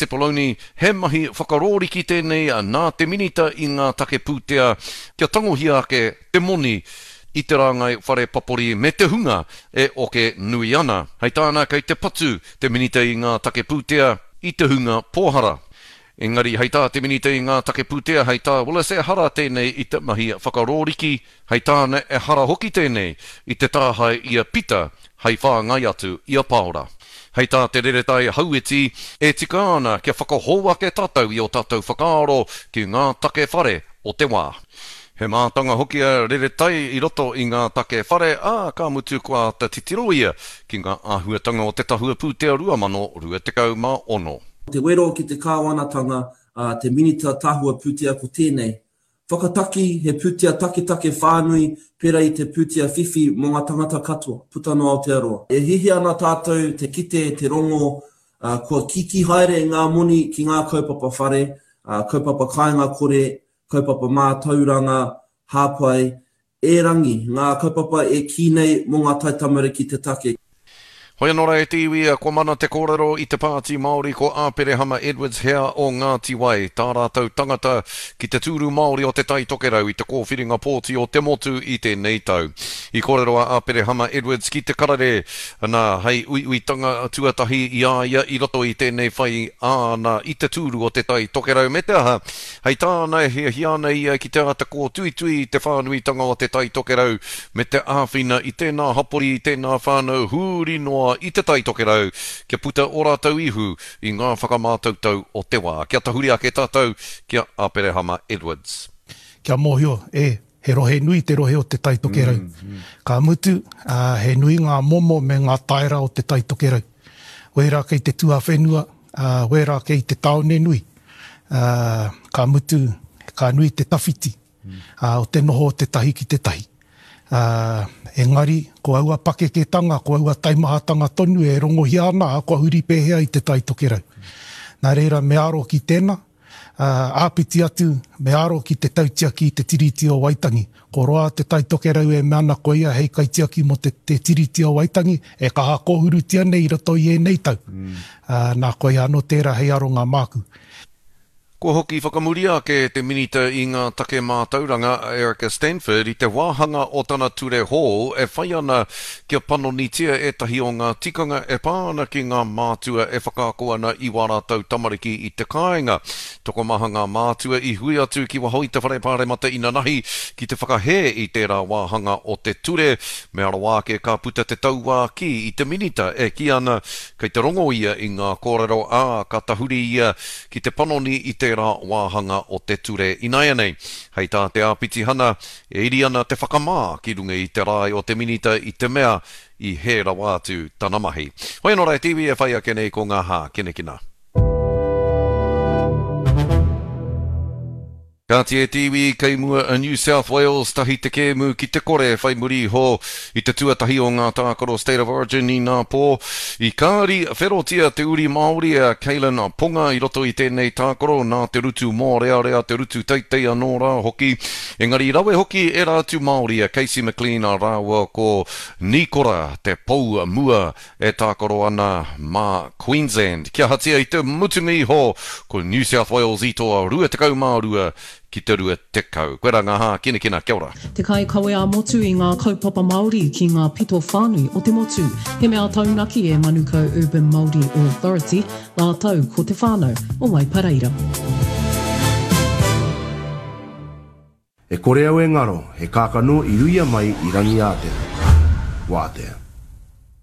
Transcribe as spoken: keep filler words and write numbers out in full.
Cipollone, he mahi whakarōriki tēnei nā te Minita i ngā take pūtea kia tangohia ake te moni i te rāngai whare papori me te hunga e oke nui ana. Hei tāna kei te patu te Minita i ngā take pūtea i te hunga pōhara. Engari hei tā te Minita i ngā take pūtea, hei tā Willis ehara tēnei i te mahi whakarōriki, hei tāna ehara hoki tēnei i te tāhae i a Pita hei whāngai atu i a Paora. Hei tā te Reretai Hauiti, e tika ana kia whakahou ake tātou i o tātou whakaaro ki ngā take whare o te wā. He mātanga hoki a Reretai i roto i ngā take whare, ā, ka mutu kua āta titiro ia ki ngā āhuatanga o te tahua pūtea rua mano rua tekau mā ono. Te wero ki te kāwanatanga, a te Minita Tahua Pūtea ko tēnei. Whakataki he pūtea taketake whānui pērā i te pūtea whiwhi mō ngā tangata katoa, puta noa Aotearoa. E hiahia ana tātou te kite, te rongo, kua kīkī haere ngā moni ki ngā kaupapa whare, kaupapa kāinga kore, kaupapa mātauranga, hāpai, erangi, ngā kaupapa e kī nei mō ngā taitamariki te take. Hoi anō rā e te iwi, kua mana te kōrero i te Pāti Māori ko Āperehama Edwards hea o Ngāti Wai, tā rātou tangata ki te tūru Māori o Te Tai Tokerau i te kōwhiringa pōti o te motu i tēnei tau. I kōrero a Āperehama Edwards ki te karere, nā, hei uiuitanga tuatahi i a ia i roto i tēnei whai āna i te tūru o Te Tai Tokerau me te aha, hei tāna e hiahia ana ia ki te āta kōtuitui i te whānuitanga o Te Tai Tokerau me te āwhina i tēnā hapori, i tēnā whānau huri noa i Te Tai Tokerau kia puta o rātou ihu i ngā whakamātautau o te wā. Kia tahuri ake tātou ki a Aperehama Edwards. Kia mōhio, e, he rohe nui te rohe o Te Tai Tokerau. Mm, mm. Ka mutu, uh, he nui ngā momo me ngā taera o Te Tai Tokerau. Wērā kei te tuawhenua, uh, wērā kei te tāone nui. Uh, ka mutu, ka nui te tawhiti uh, o te noho o te tahi ki te tahi. Uh, engari, ko aua pakeketanga, ko aua taimahatanga tonu e rongohia ana, kua huri pēhea i Te Tai Tokerau. Nā reira, me aro ki tēnā, uh, āpiti atu, me aro ki te tautiaki i te Tiriti o Waitangi. Ko roa Te Tai Tokerau e mea ana ko ia hei kaitiaki mō te, te Tiriti o Waitangi, e kaha kōhurutia nei i roto i ēnei tau. Mm. Uh, nā koia anō tērā hei aronga māku. Kua hoki whakamuria ake te Minita i ngā take mātauranga a Erica Stanford i te wāhanga o tana ture hou e whai ana kia panonitia ētahi o ngā tikanga e pā ana ki ngā mātua e whakaako ana i wā rātou tamariki i te kāinga. Tokomaha ngā mātua i hui atu ki waho i te whare pāremata inanahi ki te whakahē i tērā wāhanga o te ture. Me arawa ake ka puta te tauākī i te Minita e kī ana kei te rongo ia i ngā kōrero ā ka tahuri ia ki te panoni i te tērā wāhanga o te ture ināianei. Hei tā te āpitihana, e iri ana te whakamā ki runga i te rae o te Minita i te mea i hē rawa atu tana mahi. Hoi anō rā e te iwi e whai ake nei ko ngā hākinakina. Kāti e te iwi kei mua a New South Wales tahi te kēmu ki te kore whai muri iho i te tuatahi o ngā tākaro State of Origin i nā pō. I kāri wherotia te uri Māori a Kalyn Ponga i roto i tēnei tākaro nā te rutu mōrearea, te rutu teitei anō rā hoki. Engari rawe hoki ērā atu Māori a Casey McLean a rāua ko Nikora te pou mua e tākaro ana mā Queensland. Kia ahatia i te mutunga iho ko New South Wales i toa rua tekau mā rua ki te rua tekau. Koe rā ngā hākinakina, kia ora. Te kaikawe ā-motu i ngā kaupapa Māori ki ngā pito whānui o te motu. He mea taunaki e Manukau Urban Māori Authority, rātou ko te whānau o Waipareira. E kore au e ngaro, he kākano i ruia mai i Rangiātea. Wātea.